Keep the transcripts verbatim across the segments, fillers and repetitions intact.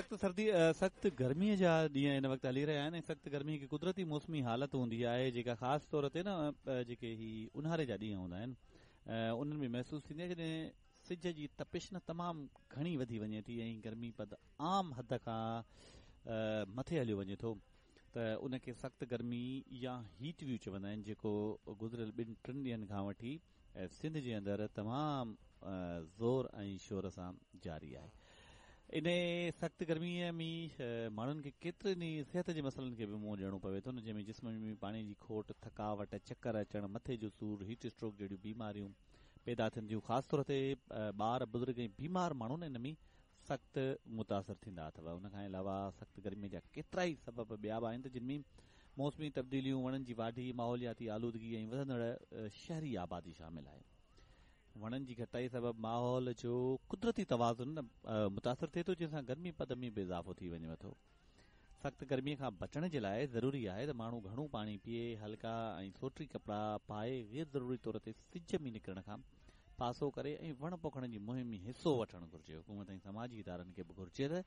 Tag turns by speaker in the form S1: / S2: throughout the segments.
S1: سخت سردي سخت گرميءَ جا ڏينهن هن وقت هلي رهيا آهن ۽ سخت گرمي هڪ قدرتي موسمي حالت هوندي آهي جيڪا خاص طور تي نه جيڪي هي اونهاري جا ڏينهن هوندا آهن انهن ۾ محسوس ٿيندي آهي جڏهن سج جي تپش نه تمام گهڻي وڌي وڃي ٿي ۽ گرمي پد عام حد کان مٿي هليو وڃي ٿو ته ان کي سخت گرمي يا هيٽ ويو چوندا آهن جيڪو گذريل ٻن ٽن ڏينهن کان وٺي سنڌ جي اندر تمام زور ۽ شور سان جاري آهي. ان سخت گرميءَ ۾ ماڻهن کي ڪيترن ئي صحت جي مسئلن کي به منهن ڏيڻو پوي ٿو نه جنهن ۾ جسم ۾ پاڻي جي کوٽ، ٿڪاوٽ، چڪر اچڻ، مٿي جو سور، هيٽ اسٽروڪ جهڙيون بيماريون پيدا ٿين ٿيون. خاص طور تي ٻار، بزرگ ۽ بيمار ماڻهو ان ۾ سخت متاثر ٿيندا اٿو. ان کان علاوه سخت گرميءَ جا ڪيترا ئي سبب ٻيا به آهن ته جن ۾ موسمي تبديليون، وڻن جي واڍي، ماحولياتي آلودگي ۽ وڌندڙ شهري آبادي شامل آهي. وڻن جي گهٽتائي سبب ماحول جو قدرتي توازن متاثر ٿئي ٿو جنهن سان گرمي پد ۾ به اضافو ٿي وڃي ٿو. سخت گرميءَ کان بچڻ جي لاءِ ضروري آهي ته ماڻهو گهڻو پاڻي پيئي، هلڪا ۽ سوٽي ڪپڙا پائي، غير ضروري طور تي سج ۾ نڪرڻ کان پاسو ڪري ۽ وڻ پوکڻ جي مهم ۾ حصو وٺڻ گهرجي. حڪومت ۽ سماجي ادارن کي به گهرجي ته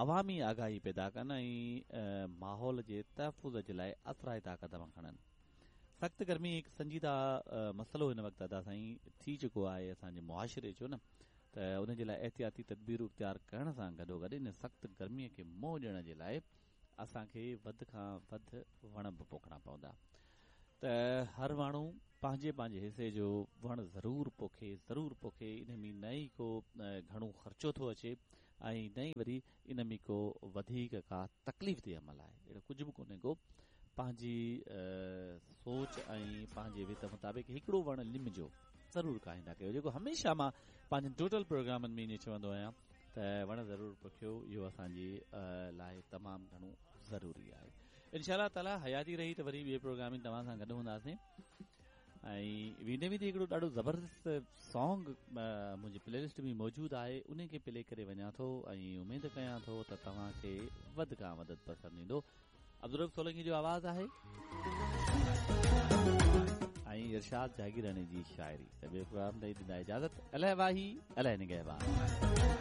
S1: عوامي آگاهي پيدا ڪن ۽ ماحول جي تحفظ جي لاءِ اثرائتا قدم کڻن. سخت گرمي هڪ سنجيده مسئلو هن وقت ادا سائين ٿي چڪو آهي اسان جي معاشري جو نه ته ان جي لاءِ احتياطي تدبيرون اختيار ڪرڻ سان گڏوگڏ ان سخت گرميءَ کي منهن ڏيڻ جي لاءِ اسان کي وڌ کان وڌ وڻ به پوکڻا پوندا ته هر ماڻهو پنهنجي پنهنجي حصي جو وڻ ضرور پوکي ضرور پوکي. ان ۾ نه ئي ڪو گهڻو خرچو ٿو اچي ۽ نه ئي وري ان ۾ ڪو وڌيڪ ڪا تڪليف تي عمل آهي. اهڙو ڪجهه به ڪونهي ڪو. پنهنجي سوچ ۽ پنهنجي وت مطابق هڪڙو وڻ لم جو ضرور کائيندا ڪيو، جيڪو هميشه مان پنهنجن ٽوٽل پروگرامن ۾ ائين چوندو آهيان ته وڻ ضرور پوکيو، اهو اسان جي لاءِ تمام گهڻو ضروري آهي. انشاء الله تعاليٰ حياتي رهي ته وري ٻئي پروگرام ۾ توهان سان گڏ هونداسين. ۽ ويندي ويندي هڪڙو ڏاڍو زبردست سانگ منهنجي پلي لسٽ ۾ موجود آهي، ان کي پلي ڪري وڃان ٿو ۽ اميد ڪيان ٿو ته توهان کي وڌ کان وڌ پسند ايندو. عبدالرب سولنگي جو آواز آهي ۽ ارشاد جاگيراڻي جي شاعري. ته ٻئي پروگرام تائين ڏيندا اجازت. الله واهي، الله نگهبان.